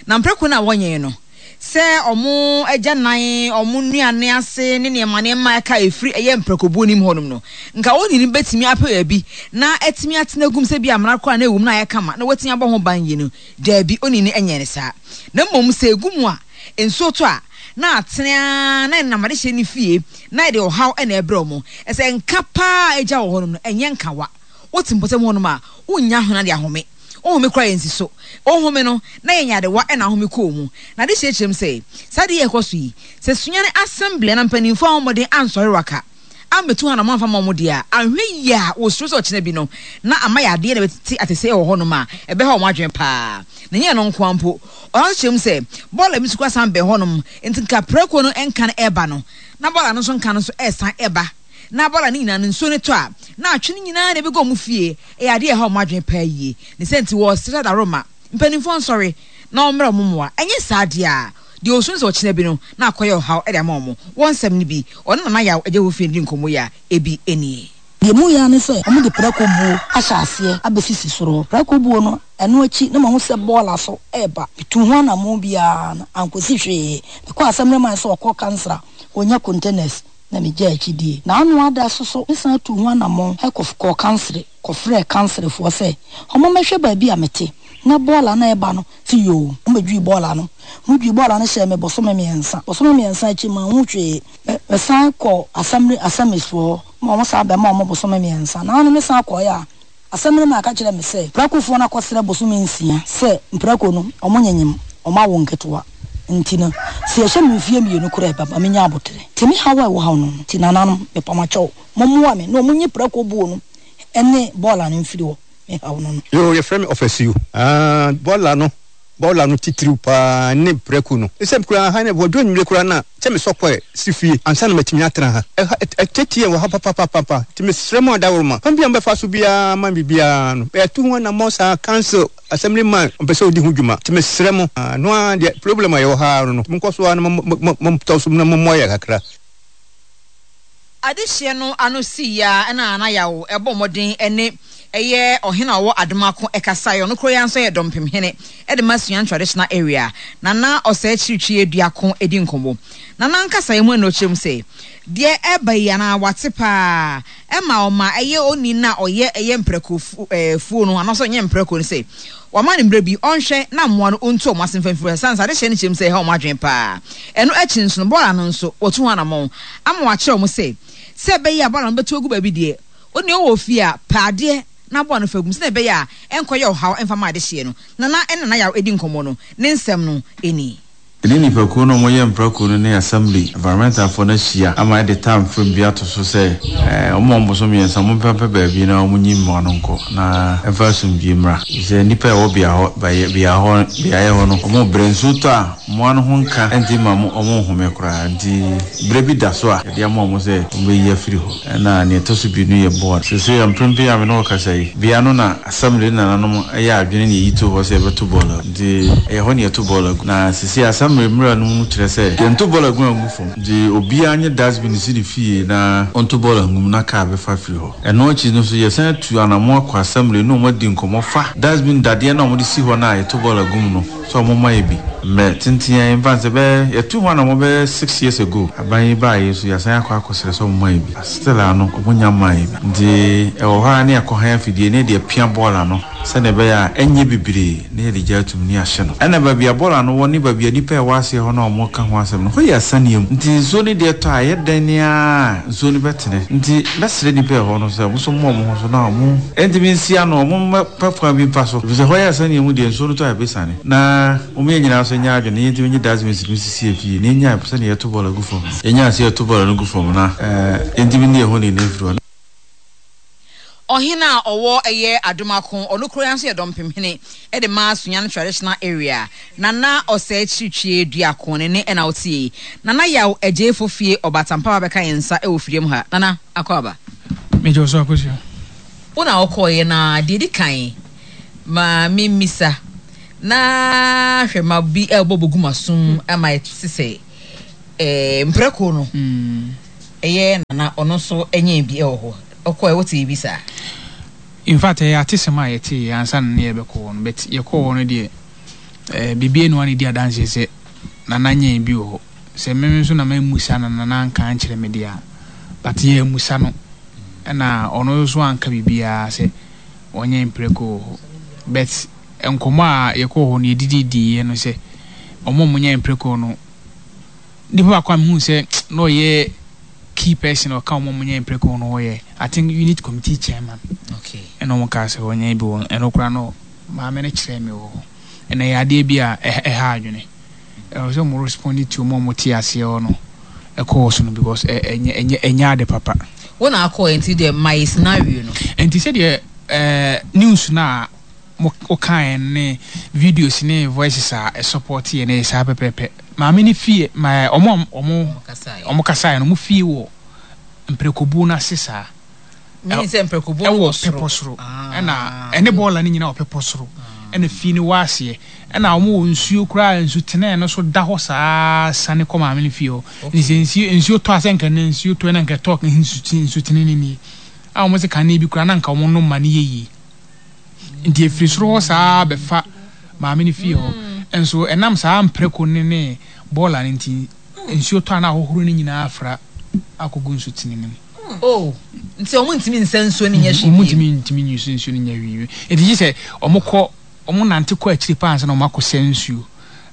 Na mprako no a wɔnyɛn no, sɛ wɔn agyanan, wɔn nnuane ase ne nneɛma nneɛma a ɛka a ɛfiri ɛyɛ mprakobuo no mu hɔnom no, nka onii no bɛtumi apɛ baabi na atumi atena agu mu sɛ bi amena koraa na ɛwɔ mu na ayɛ kama na watumi abɔ ho ban yie no. Daabi, onii no nyɛɛ no saa. Na mmom sɛ ɛgu mu a, nsuo tɔ a, na atene ara na ɛnam adehyeɛ no fie na ɛde ɔhaw na ɛbrɛ wɔn. Ɛsɛ nka paa a ɛgya wɔ hɔnom no, ɛnyɛ nkawa. Wote mpɔtam hɔnom a, wunnya hona de ahome. Wohome koraa a ensi so. Wohome no, na ɛyɛ nyarewa na ahome kɔ wo mu. Na ade kyerɛkyerɛ mu sɛ, saa ade yi a ɛkɔ so yi, sɛ Sunyani Assembly anaa mpanyimfo ammɔ mmɔden ansɔre waka, ammetu hɔ anammɔn amfa amma wɔn deɛ a, anhwɛ yie a wosuro sɛ ɔkyena bi no, na ama yadeɛ na ɛbɛtete atese wɔ hɔnom a ɛbɛha wɔn adwene paa. Na ɛnyɛ ɛno nko ara mpo, ɔsan nso kyerɛ mu sɛ, bɔɔla bi nso koraa san bɛn hɔnom, enti nka prako no nka no reba no, na bɔɔla no nso nka no nso resan ba. Na bɔɔla no nyinaa no, nsuo no tɔ a, na atwe no nyinaa na ɛbɛgu wɔn fie. Ɛyɛ adeɛ a ɛha wɔn adwene paa yie. Ne saa nti, wɔresrɛ Daroma mpanimfoɔ nsɔre na wɔmmrɛ wɔn mmoa. Ɛnyɛ saa deɛ a, deɛ ɔsu no sɛ ɔkyena bi no, na akɔyɛ ɔhaw de ama wɔn. Wɔn nsɛm no bi, ɔne Nana Yaw Agyahofie no di nkɔmmɔ yi a, ebi nie. Deɛ ɛmu yɛ ara ne sɛ wɔde prako buo ahyɛ aseɛ abɛsisi soro hɔ. Prako buo no, ɛno akyi na mahu sɛ bɔɔla so reba. Metuu ho anammɔn biara no, ankɔsi hwee. Mekɔɔ asɛmmerɛ man sɛ wɔkɔ kansra, wɔnya containers. na megyaa akyidie. Na ano ada so so, mesan tuu ho anammɔn kɔ kɔɔ kansere kɔfrɛɛ kanserefoɔ sɛ wɔmmɛhwɛ baabi a mete na bɔɔla no a ɛreba no te yoo. Wɔbɛdwii bɔɔla no. Wɔdwii bɔɔla no hyɛɛ me bosome mmiɛnsa. Bosome mmiɛnsa akyi manhu hwee. Me mesan kɔɔ asɛmre asɛmesfoɔ hɔ ma wɔsan bɛmaa wɔn bosome mmiɛnsa. Na ano mesan kɔeɛ a, Asɛm no maa ɛka kyerɛɛ me sɛ mprakofoɔ no akɔsrɛ bosome nsia sɛ mprako no wɔnyenyem wɔn awo nketewa nti no sɛ yɛhyɛ me mfeɛ mmienu koraa ɛbɛma menya aboterɛ. Nti me haw a ɛwɔ haw no no nti nananom mepamakyɛw mommoa me na wɔnyi prako buo no ne bɔɔla no mfiri hɔ me haw no no. Yoo yɛfrɛ me ɔfasuo. Aah bɔɔla no Bɔɔla no titiriw paa ne prɛko no. Esiane koraa ha ne wɔduru anwummere koraa no a, sɛ mesɔ kɔɛ si fie ansa na matumi atena ha. Ɛha ɛteetee yɛn wɔ ha papapapapa. Nti mesrɛ mo adaworoma, kwan biara a mobɛfa so biara ama me biribiara no, yɛatu ho anammɔn saa, council, assembly man, ɔmpɛ sɛ ɔdi ho dwuma. Nti mesrɛ mo, ɛno ara deɛ problem a yɛwɔ ha ara no, monkɔ so ara na montɔ so na mommoa yɛn kakra. Adehyeɛ no ano sii ara na Nana Yaw bɔɔ mmɔden ne ɛyɛ ɔhene a ɔwɔ Adomako kasaeɛ. Ɔno koro yi ara nso yɛ dɔmpemhene de ma Suan Traditional Area. Nana Ɔsɛe Kyirikyiri Aduako di nkɔmmɔ. Nana nkasaeɛ mu na ɔkyerɛ mu sɛ, deɛ ɛreba yi anaa wate pa ara ɛma ɔma ɛyɛ onii no a ɔyɛ ɛyɛ mprako fuo no anaasɛ ɔnyɛ mprako no sɛ wama no mmerɛ bi ɔnhwɛ na mmoa no ɔntu wɔn ase mfa mfiri hɔ ɛsiane sɛ adehyeɛ no kyerɛ mu sɛ ɛha wɔn adwene pa ara. Ɛno akyi nso no bɔɔla no nso wɔtu ho anammɔn ama wɔakyerɛ wɔn sɛ, sɛ ɛbɛyɛ a bɔɔla no bɛtu agu baabi deɛ, wo deɛ wowɔ fie a, pɛ adeɛ na bɔɔla no fa gu mu sɛdeɛ ɛbɛyɛ a ɛnkɔyɛ ɔhaw mfa mma adehyeɛ no. Nana ne Nana Yaw redi nkɔmmɔ no, ne nsɛm no nie. Yɛne nnipakuo no a wɔyɛ mprako no ne Assembly Environmentalfoɔ no ahyia ama yɛde time frame bi ato so sɛ wɔn a wɔn bosome mmiɛnsa wɔmpɛmpɛ baabi na wɔnyi mmoa no nkɔ na ɛmfa asomdwoeɛ mmra. Efisɛ nnipa a ɛwɔ bea hɔ beaeɛ hɔ beaeɛ hɔ no wɔrebrɛ. Nsuo tɔ a mmoa no ho nka nti mma wɔnhome koraa nti berɛ bi da so a yɛde ama wɔn sɛ wɔbɛyi afiri hɔ. Ɛna nea ɛtɔ so mmienu yɛ board. Seesei mprempren a me ne wo rekasa yi, bea no na Assembly ne nananom yɛ adwene na yɛyi too hɔ sɛ yɛbɛto bɔɔl agu. Nti ɛyɛ hɔ na yɛto bɔɔl agu. Na seesei Assembly mmara no mu kyerɛ sɛ yɛnto bɔɔl agu angu fam. Nti obiara nye dustbin nsi ne fie na ɔnto bɔɔl angu mu na kaa bɛfa afiri hɔ. Ɛno akyi no nso yɛsan atu anammɔn akɔ Assembly ne wɔn adi nkɔmmɔ fa dustbin dadeɛ no a wɔde si hɔ no a yɛto bɔɔl agu mu no. sɛ ɔmo mma yɛ bi. Mmerɛ tenten ara yi, mfa no sɛ bɛyɛ, yɛtuu ho anamɔ bɛyɛ six years ago, aban yi baeɛ yi nso yɛasan akɔ akɔsrɛ sɛ ɔmo mma yɛ bi, still ara no ɔmo nnya mmaa yɛ bi. Nti ɛwɔ hɔ ara ne yɛakɔ han afidie na yɛde apia bɔɔla no sɛdeɛ ɛbɛyɛ a ɛnyɛ bebree na yɛde gya atum ne yɛahye no. Ɛna baabi a bɔɔla no wɔ ne baabi a nnipa a ɛwɔ aseɛ hɔ no a wɔreka ho asɛm no, hɔ yɛ asaneɛ mu. Nti nsuo no deɛ tɔ a, ɛyɛ dɛn ara a nsuo no bɛtene. Nti mɛsrɛ nnipa a ɛwɔ hɔ no sɛ wɔn nso mmɔ wɔn ho so na wɔn ntumi nsi ano, wɔmmɛpɛ kwan bi mfa so, ɛfiri sɛ hɔ yɛ asaneɛ mu deɛ nsuo no tɔ a ɛbɛsiane. Na wɔn yɛn nyinaa nso nyɛ adwene na yɛntumi nye dustbins no nsisi yɛn fie na yɛnyae sɛdeɛ yɛto bɔɔla gu fam no. Yɛnyae sɛ yɛto bɔɔla no gu fam na yɛntumi nni yɛn ho ni no mfiri hɔ. Ɔhene a ɔwɔ ɛyɛ Adomako, ɔno koro yi ara nso yɛ Dɔmpemhene de ma Sunyani Traditional Area, Nana Ɔsɛe Kyirikyie Duako ne ne ɛna wotie yi. Nana Yaw Agyei Fofie Ɔbatampa ba bɛka yɛn nsa wɔ fidua mu ha. Nana, akɔ aba. Megye wo so Akosua. Wo na wokɔeɛ na deɛ ɛdi kan ma memmisa na hwɛ ma bi ɛrebɔ bɔgu m'asom ama ɛte sɛ eh, mprako no ɛyɛ nana ɔno nso ɛnyɛɛ bi ɛwɔ hɔ ɔkɔɛ wote bi saa. In fact ɛyɛ atesɛm a yɛteeɛ ansa na ne yɛbɛkɔ hɔ no but yɛkɔɔ hɔ no deɛ eh, biribi aniwa na ɛdi adanseɛ sɛ nana nyɛɛ bi wɔ hɔ sɛ me nso na mammusa na nana anka ankyerɛ me deɛ a but yɛammusa no ɛna ɔno nso anka biribiara sɛ ɔnyɛ mprako wɔ hɔ but nkɔmmɔ a yɛkɔɔ hɔ no yɛdididiiɛ no sɛ wɔn a wɔnyɛ mprako no Nipa baako a mehuu sɛ na ɔyɛ key person a ɔka wɔn a wɔnyɛ mpreko ho no ɔyɛ I think unit committee chairman. Okay. Ɛna wɔn kaa sɛ ɔnyɛ bi wɔ ɛno koraa no maame no kyerɛɛ me wɔ hɔ. Ɛna ɛyɛ adeɛ bi a ɛha adwene. Ɛwɔ sɛ wɔn respond to wɔn a wɔte aseɛ hɔ no ɛkɔɔ so no because ɛnyɛ ɛnyɛ ɛnyɛ ade papa. Wo na akɔɔ nti deɛ ma yɛ scenario no. Nti sɛdeɛ ɛɛ news no a mo wokaeɛ no ne videos ne voices a ɛsupporte yɛ no ɛyɛ saa pɛpɛɛpɛ. Maame no fie ma wɔn a wɔn wɔn kasaeɛ no wɔn fie wɔ mprɛkobuo no ase saa. Meaning sɛ mprɛkobuo no wɔ soro. Ɛwɔ pepɔ soro. Ɛna ɛne bɔɔla no nyinaa wɔ pepɔ soro. Ɛna fie no wɔ aseɛ. Ɛna wɔn wɔ nsuo koraa nsutenɛɛ no so da hɔ saa sane kɔ maame no fie hɔ. Nti sɛ nsuo nsuo tɔ a sɛ nka nnɛ nsuo tɔ na nka ɛtɔ nsutene no nie. A wɔn se kane bi koraa na nka wɔn nom ma no yɛ yie. Nti ɛfiri soro hɔ saa ara bɛfa maame no fie hɔ. Nso ɛnam saa mprako no ne bɔɔla no nti, nsuo tɔ a na ahohoro no nyinaa afra akɔgu nsutene no mu. Oh, nti wɔn ntumi nsa nsuo no nyɛ hwee bio? Wɔn ntumi ntumi nyi nsuo no nyɛ hwee bio. Nti gye sɛ wɔn kɔ, wɔn nante kɔ akyiri paa ansa na wɔn akɔsa nsuo.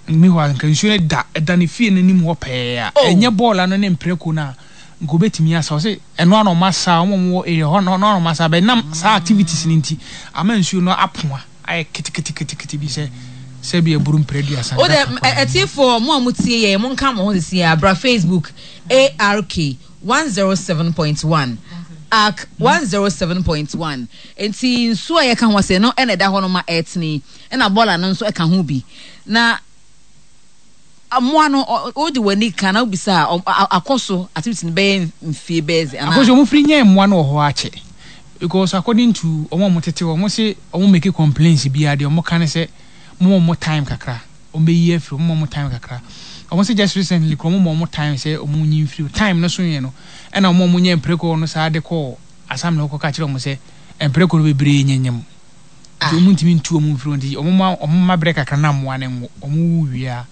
Meanwhile, nka nsuo no da, ɛda ne fie no anim hɔ pɛɛ a, ɛnyɛ bɔɔla no ne mprako no a, nka obetumi asa. Ɔse ɛno ara na ɔmo asa, ɔmo a ɔmo wɔ area hɔ no ɛno ara na ɔmo asa, but nam saa activities no nti ama nsuo no apoa ayɛ keteketekete bi sɛ sɛbi aburu mprɛ aduasa. Wo dɛ atiefoɔ mo a mo tie yɛn mo nka mo ho sisi a bra Facebook ARK 107.1 ark 107.1 nti nsuo a yɛka ho asɛm no ɛna ɛda hɔ no ma ɛtene yi ɛna bɔɔla no nso ɛka ho bi na Mmoa no, wode w'ani ka na wobisa a, akɔ so activity no bɛyɛ mfie bɛyɛ sɛ anaa? Akɔ so, wɔn firi nyɛɛ mmoa no wɔ hɔ akyɛ because according to wɔn a wɔn tete hɔ, wɔn se wɔn make complaints biara deɛ wɔn ka ne sɛ mo ma wɔn time kakra, wɔn bɛ yi afiri hɔ, mo ma wɔn time kakra. Wɔn se just recently koraa wɔn ma wɔn time sɛ wɔn nyi mfiri hɔ, time no so yɛ no ɛna wɔn a wɔn nyɛ mpreko no saa de kɔɔ assembly hɔ kɔka kyerɛ wɔn sɛ mpreko no bebree nyenyem. Nti wɔn ntumi ntu wɔn mfiri hɔ nti wɔn ma wɔn ma berɛ kakra na mmoa no nwo wɔn wu wie a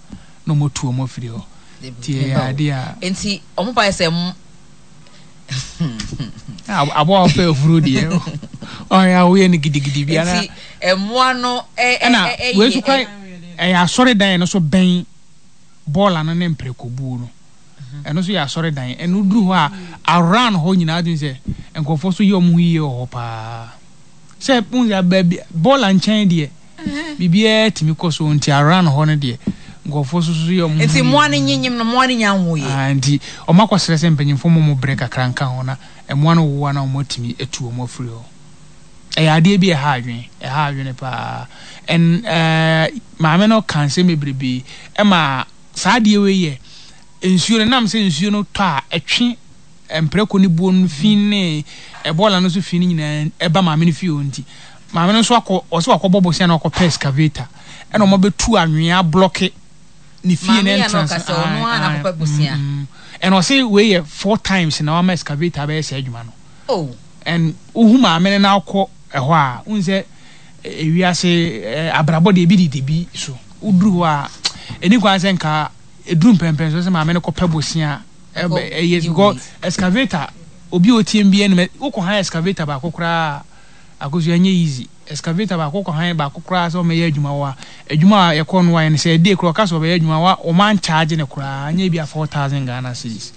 na wɔn atu wɔn afiri hɔ nti ɛyɛ adeɛ a. Nti wɔn ba yɛ sɛ mo. Aboa a ɔpɛ afuro deɛ ɔyɛ a woyɛ no gidigidi bi ana. Nti mmoa no ɛ ɛ ɛna wei nso kora ɛyɛ asɔredan no so bɛn bɔɔla no ne mprɛkobuo no ɛno nso yɛ asɔredan ɛno duru hɔ a around hɔ nyinaa tumi sɛ nkurɔfoɔ so yɛ wɔn ho yie wɔ hɔ paa. Sɛ wohu sɛ baabi bɔɔla nkyɛn deɛ biribiara tumi kɔ so nti around hɔ no deɛ nkurɔfoɔ so so yɛ wɔn ho Nti mmoa no nyinyim no mmoa no nya nwoeɛ. Ah, nti wɔn akɔsrɛ sɛ mpanyinfoɔ mmɔ wɔn brɛ kakra nka ho na mmoa no woa na wɔn atumi atu wɔn afiri hɔ. Ɛyɛ adeɛ bi a ɛha adwene, ɛha adwene paa. And eh, maame no ka nsɛm bebrebe ɛma saa adeɛ wei yɛ nsuo no nam sɛ nsuo no tɔ a ɛtwe mprako ne buo no fi ne bɔɔla no so fi no nyinaa ɛba maame no fie hɔ nti maame no nso akɔ ɔsɛ wakɔbɔ bosea na wakɔpɛ excavator ɛna wɔn abɛtu anwea ablɔke ne fie no entrance ɛna ɔsɛ wei yɛ four times na wama excavator abɛyɛ saa adwuma no oh. and wohu maame no na akɔ ɛhɔ a wohu sɛ ewiase abrabɔ deɛ ebi didi bi so. woduru hɔ a ɛni kwan sɛ nka ɛduru mpɛmpɛn so sɛ maame no kɔpɛ bosea ɛyɛ because excavator obi a ɔtie bi anim wokɔ han excavator baako koraa akosua ɛnyɛ easy excavator baako kɔ han baako koraa sɛ ɔmɛyɛ adwuma wɔ a adwuma a yɛkɔ no wayɛ no sɛ ɛde koraa ɔka sɛ ɔbɛyɛ adwuma wa ɔma nkyagye no koraa anyɛ bi a 4000 Ghana cedis.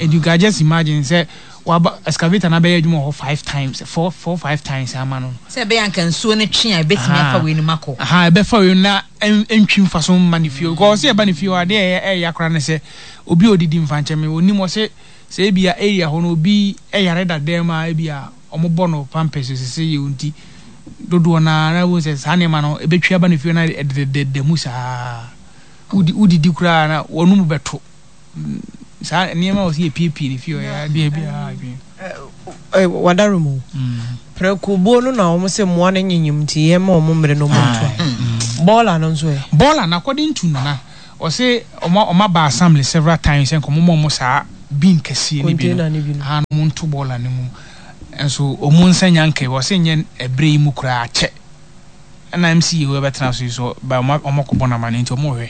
And you can just imagine sɛ waba excavator no abɛyɛ adwuma wɔ hɔ five times, four, four, five times ama no. Sɛ ɛbɛyɛ anka nsuo no twe a ɛbɛtumi afa wei no mu akɔ. Aha, ɛbɛfa wei no na ɛntwi mfa so mma ne fie. Because ɔsɛ ɛba ne fie hɔ adeɛ ɛyɛ ɛyɛ akora ne sɛ obi a ɔdidi mfa nkyɛn me onim ɔsɛ sɛ ebi a area hɔ no obi ɛyare da dɛm a ebi a wɔn bɔ no pampers sese yɛ nti dodoɔ naa na wɔn sɛ saa nneɛma no ɛbɛtwi aba ne fie na ɛdedededa mu saa wodi wodidi koraa na wɔn mu bɛto. Saa nneɛma a wɔsi yɛpiepie ne fie ɔyɛ adeɛ bi a adwene. Wadaro mu. Prɛko buo no na wɔn sɛ mmoa no nyenyem nti yɛn ma wɔn mmere no wɔn ntoa. Bɔɔla no nso ɛ. Bɔɔla no according to Nana ɔse wɔn wɔn aba assembly several times sɛ nka wɔn ma wɔn saa bin kɛseɛ no bi no Container no bi no. Haa na wɔn nto bɔɔla no mu nso wɔn nsa nya nka bi ɔse nyɛ ɛbrɛ yi mu koraa akyɛ. Ɛna MC wei bɛtena so yi so ba ɔmo ɔmo kɔbɔ no amane nti ɔmo hwɛ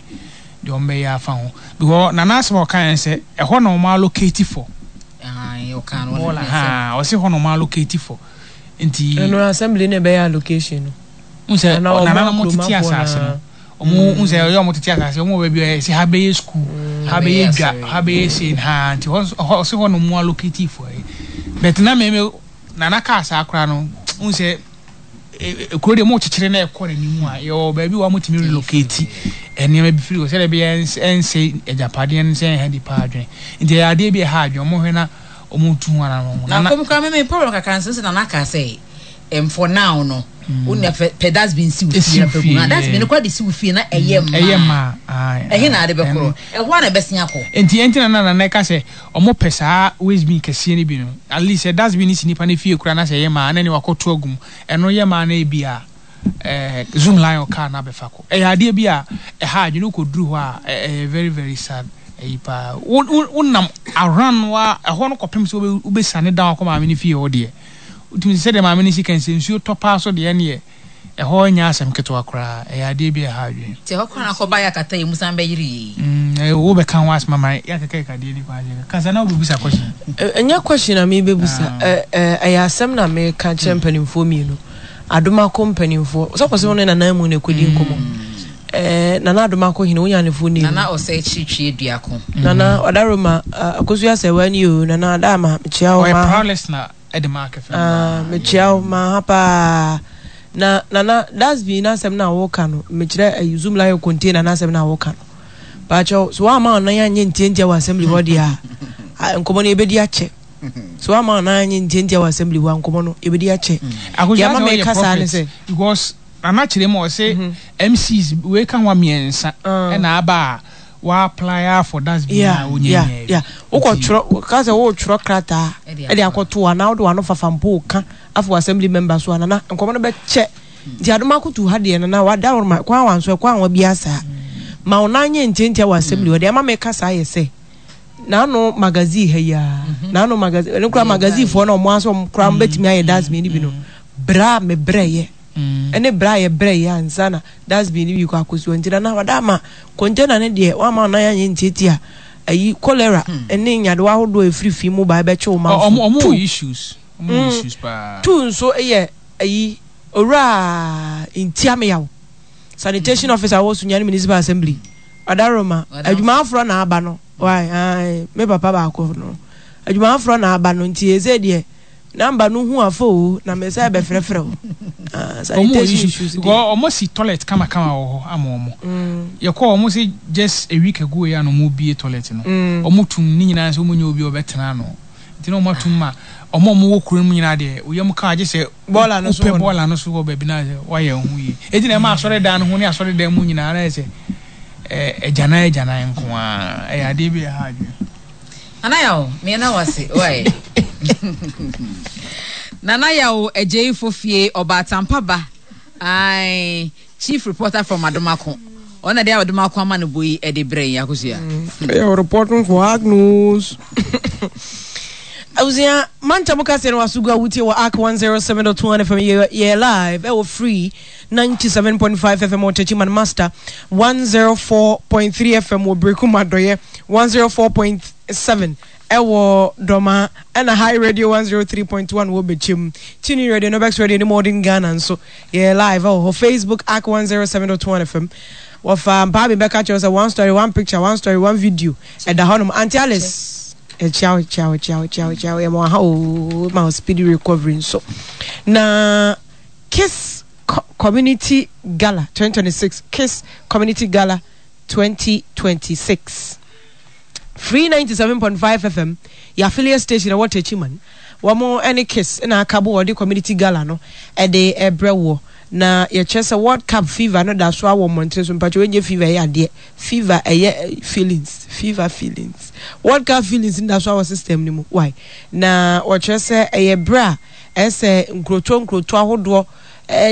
deɛ ɔmo bɛyɛ afa ho because Nana asɛm a ɔka yɛn sɛ ɛhɔ na ɔmo allocate for. Ayi ɔka no ɔno ha ɔsi hɔ na ɔmo allocate for nti. Ɛno assembly na ɛbɛyɛ allocation no. N sɛ Nana na ɔmo tete asaase no ɔmo n sɛ ɔyɛ ɔmo tete asaase ɔmo wɔ baabi a ɛsɛ ha bɛyɛ school ha bɛyɛ dwa ha bɛyɛ sei ha nti hɔ ɔsi hɔ na ɔmo allocate for yi but na mɛmɛ Nana kaa saa koraa no n sɛ. Kuro deɛ mo kyekyere na ɛkɔ n'anim a yɛwɔ baabi wɔ a motumi relocate nneɛma bi firi hɔ sɛdeɛ ɛbɛyɛ ɛnsɛ agyapadeɛ no sɛ ɛnha nipa adwene nti ɛyɛ adeɛ bi ɛha adwene wɔn hwɛ na wɔn tu ho anamɔ. Na kɔm koraa mɛmɛ problem kakra nso sɛ nana kaa sɛ um, for now no wo nua pɛ pɛ dustbin si wo fie na pɛ gu na dustbin no kora de si wo fie na ɛyɛ mmaa ɛyɛ mmaa ɛhe na ade bɛkorɔ ɛhɔ a na ɛbɛsen akɔ. Nti ɛnti na na nana ɛka sɛ wɔn pɛ saa waste bin kɛseɛ no bi no at least sɛ dustbin no si nipa no fie koraa na sɛ ɛyɛ mmaa na ɛne wakɔto agu mu Ɛno yɛ maa no ebia zoom lion car no abɛfa kɔ. Ɛyɛ adeɛ bi a ɛha adwene wokɔduru hɔ a ɛyɛ very very sad ayi paa. Wo wo wonam around wa ɛhɔ no kɔpem sɛ wobɛsane down akɔ maame no fie hɔ deɛ wotumi sɛ sɛdeɛ maame no si kan sɛ nsuo tɔ paa so deɛ ɛneɛ ɛhɔ nyɛ asɛm ketewa koraa. Ɛyɛ adeɛ bi a ɛha adwene. Nti ɛhɔ koraa na akɔba yɛ akata yɛ mu san bɛyere yei. Mm, wobɛka ho asɛm ama yɛakekeka deɛ ni kwan sɛ kasa na wobɛbusa question. Ɛnyɛ question na merebɛbusa, ɛyɛ asɛm na mereka kyerɛ mpanimfoɔ mmienu, Adomako mpanimfoɔ. Sɛ kɔsɛ wo ne Nana Amu na ɛkɔdi nkɔmmɔ. Nana Adomako hene, wonya ne fo name. Nana Ɔsɛe Kyirikyiri Aduako. Nana Ɔdaroma, Akosua Sɛwa ni o, Nana Adama, mekyia wo. Ɔyɛ proud listener ɛde ma Akɛfɛ. Mekyia wo, ma ha paa. Na Nana, dustbin n'asɛm na woka no, mekyerɛ Zoom Lion container n'asɛm na woka no. Paakyɛw, so woamma ɔnan anyɛ ntiantia wɔ assembly hɔ deɛ a, nkɔmmɔ no yɛbɛdi akyɛ. So woamma ɔnan anyɛ ntiantia wɔ assembly hɔ a, nkɔmmɔ no yɛbɛdi akyɛ. Deɛ ama meka saa ne sɛ. Because Nana kyerɛ mu ɔse MCs wei ka ho a mmiɛnsa ɛna aba a wa apply for dustbin a wonya nyaa bi. Wokɔ twerɛ, ka sɛ wotwerɛ krataa ɛde akɔto anaa wode w'ano fafa mpo ka afa wɔ assembly member so a, Nana nkɔmmɔ no bɛkyɛ. Nti adom akoto ha deɛ nana wada wo ma kwan wa nso ɛkwan wa biara saa ma wo nan nyɛ ntiantia wɔ assembly hɔ deɛ ama meka saa yɛ sɛ n'ano magazine ha yi a mhm. n'ano magazine ɛno kora magazine foɔ na ɔmo asɔ ɔmo kora ɔmo bɛtumi ayɛ dustbin no bi no brɛ a me brɛ yɛ mm. ɛne brɛ a yɛ brɛ yɛ ansa na dustbin no bi kɔ akɔsi nti nana wada ama container no deɛ wama ɔnan anyɛ ntiatia ayi cholera hmm. ɛne nyadewa ahodoɔ efiri fi mu ba ɛbɛkye wo manfo ɔmo wɔ issues ɔmo wɔ mm. issues paa tu nso yɛ Ayi, Owura Ntiameyaw, Sanitation Officer wɔ Sunyani Municipal Assembly, Ɔdaroma, adwuma aforɔ na aba no, wai, ae, me papa baako no, adwuma aforɔ na aba no, nti ɛsɛ deɛ, namba no hu afa o, na me sɛ bɛfrɛfrɛ o. Ah, sanitation issues deɛ. Because ɔmo si toilet kama kama wɔ hɔ ama ɔmo. Yɛkɔ ɔmo se just a week ago yɛ a na ɔmo bie toilet no. Ɔmo tum ne nyinaa sɛ ɔmo nyɛ obi a ɔbɛtena ano. Nti na wɔatom ma wɔn a wɔwɔ kuro no mu nyinaa deɛ, wo yam ka a, gye sɛ Bɔɔla no so wopɛ hɔ no. bɔɔla no so wɔ baabi na sɛ woayɛ wo ho yie. Enti na ɛma asɔredan no ho ne asɔredan mu nyinaa na ayɛ sɛ agyanan agyanan nko ara. Ɛyɛ adeɛ bi a ɛha adwene. Nana Yaw, me na wase, why? Nana Yaw Agyei Fofie, Ɔbaatampa ba, ae. Chief reporter from Adomako. Ɔno na de Adomako amanebɔ yi de brɛ yɛn Akosua. Ɛyɛ reporting for Hard News. Abusua, mantam kaseɛ no waso gu a wotie wɔ Ark 107.1 FM. Yɛ yɛ live ɛwɔ Free 97.5 FM wɔ Techiman Master, 104.3 FM wɔ Berekum Adɔyɛ, 104.7 ɛwɔ Dɔma, ɛna High Radio 103.1 wɔ Bɛkyɛm. Tune Radio, Nobex Radio ne Modern Ghana nso yɛ live ɛwɔ hɔ. Facebook Ark 107.1 FM. Wɔfa mpaa bi bɛka kyerɛ sɛ one story, one picture, one story, one video. Ɛda hɔnom. Auntie Alice. Ɛkyia wo, kyia wo, kyia wo, kyia wo, kyia wo. Yɛma wo aha oo, ma wo speedy recovery nso. Na Kiss Community Gala 2026, Kiss Community Gala 2026. Free 97.5 FM, yɛ affiliate station ɛwɔ Techiman. Wɔn ne Kiss na aka bo wɔde community gala no ɛde ɛbrɛ woɔ. Na yɛkyerɛ sɛ World Cup fever no da so awɔ mmɔntene so. Mpakyɛ wɔnyɛ fever ɛyɛ adeɛ. Fever ɛyɛ feelings fever feelings World Cup feelings no da so ara wɔ system no mu why na wɔkyerɛ sɛ ɛyɛ berɛ a ɛsɛ nkurotoɔ nkurotoɔ ahodoɔ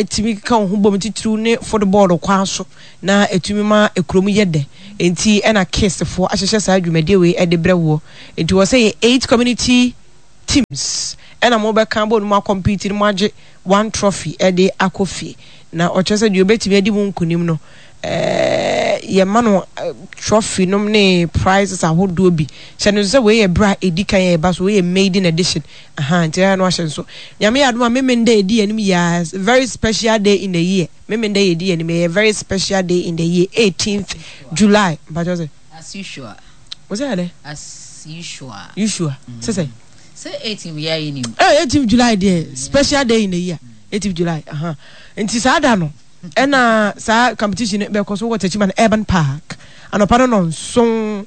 tumi keka wɔn ho bom titiriw ne football kwan so na ɛtumi ma kurom yɛ dɛ nti ɛna KISS foɔ ahyehyɛ saa dwumadie wei ɛde brɛ woɔ nti wɔ sɛ yɛ eight community teams ɛna mo bɛka bɔ no mu akɔmpiti no mo agye one trophy ɛde akɔ fie na ɔkyerɛ sɛ deɛ ɔbɛtumi adi mu nkunim no yɛma no trophy nom ne prizes ahodoɔ bi. Hyɛ no nso sɛ wei yɛ berɛ a ɛdi kan a ɛba so, wei yɛ maiden edition. Aha, nti ɛyɛ no ahyɛ nso. Nyame yɛ adom a Memenda ɛdi anim yɛ very special day in the year. Memenda yɛ ɛdi anim ɛyɛ very special day in the year, 18th July. Mpakyɛw sɛ? As usual. Wo sɛ ɛdɛ? As usual. Usual. Sɛ sɛ? Sɛ 18th yɛ ayɛ nim. Eh, 18th July deɛ special day in the year. 18th July. Aha. Nti saa da no. Ɛna saa competition no bɛkɔ so wɔ Techiman Urban Park anɔpa no nɔnson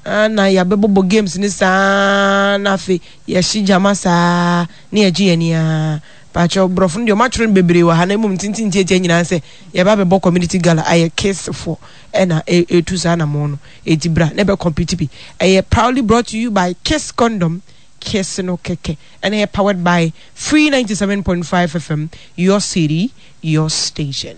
na yɛabɛbɔbɔ games no saa na afei yɛhye gyama saa na yɛgye yɛn ani ara. Pakyɛw borɔfo no deɛ wɔatwerɛ no bebree wɔ ha na mmom tenten tiatia nyinaa sɛ yɛba abɛbɔ community gala ayɛ kiss-foɔ ɛna ɛtu saa anamɔn no enti bra na ɛbɛ compete bi. Ɛyɛ proudly brought to you by Kiss Condom, Kiss no kɛkɛ ɛna ɛyɛ powered by Free 97.5 FM, your city, your station.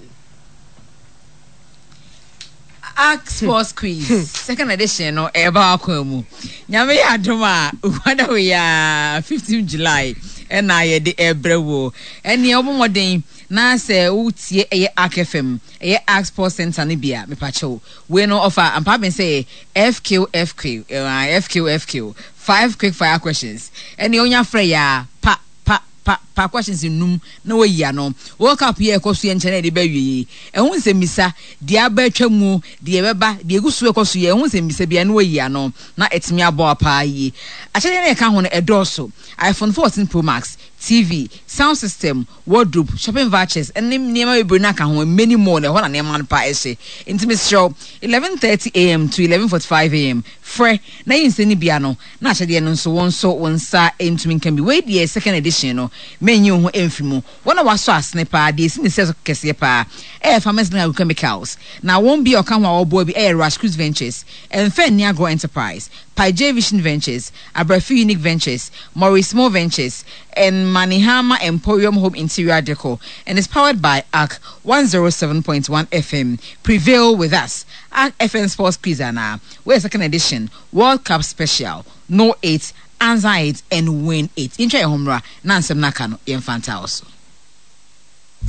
Ark Sports Quiz hmm. second edition no ɛba akwan mu. Nyame yɛ adom a wada wei a 15 July ɛna yɛde ɛbrɛ wo. Ɛneɛ wobɔ mmɔden na sɛ wotie ɛyɛ Ark FM ɛyɛ Ark Sports Center no bi a mepakyɛw. Wei no ɔfa ampa ben sɛ FQ FQ FQ FQ five quick fire questions. Ɛneɛ wonya frɛ yɛ a pa pa pa pa questions nnum na wayi ano. World Cup yi a ɛkɔ so yi nkyɛ na yɛde ba awiei yi, ɛho nsɛmmisa, deɛ aba atwa mu, deɛ ɛbɛba, deɛ ɛgu so rekɔ so yi, ɛho nsɛmmisa biara na wayi ano na atumi aboa paa yie. Akyɛdeɛ no a ɛka ho no, ɛdɔɔso, iPhone 14 Pro Max, TV, sound system, wardrobe, shopping vouchers, ne nneɛma bebree no aka ho, many more, na ɛhɔ na nneɛma no paa hyɛ. Nti mesrɛ wo, 11:30 am to 11:45 am, frɛ na yi nsɛm no bi ano. Na ahyɛdeɛ no nso, wo nso wo nsa ntumi nka bi. Wei deɛ second edition no, mennyi wo ho mfiri mu. Wɔn a wɔasɔ asene paa, deɛ ɛsi ne sɛ so kɛseɛ paa, ɛyɛ Farmers Link Agrochemicals. Na wɔn bi a wɔka ho a wɔboa bi yɛ Rashcruz Ventures, Mfa Nni Agorɔ Enterprise, Paijay Vision Ventures, Abrafi Unique Ventures, Maurice Mo Ventures, and Manihama Emporium Home Interior Decor, and is powered by ARC 107.1 FM. Prevail with us. ARC FM Sports Quiz anaa? Wei yɛ second edition. World Cup Special, Know It, Answer It and Win It. Yɛntwa yɛn ho mmra na nsɛm no aka no yɛmfa ntaa wo so.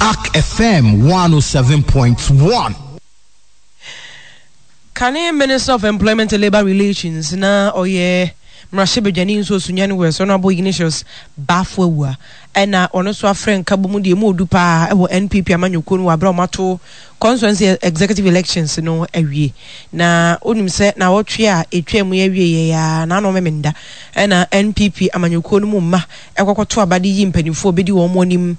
Ark FM 107.1. Kane Minister of Employment and Labour Relations na ɔyɛ mmarahyɛbadwani nso Sunyani West Honourable Ignatius Baffour Awuah ɛna ɔno nso afrɛ nkabom deɛ emu odu paa ɛwɔ NPP amanyɔkuo no wɔ abere a wɔato Constituency Executive Elections no awie. Na wonim sɛ naawɔtwe a ɛtwaa mu yi awieɛ yi ara, naano Memenda, ɛna NPP amanyɔkuo no mu mma ɛkɔkɔto aba de yi mpanimfoɔ a wɔbɛdi wɔn anim.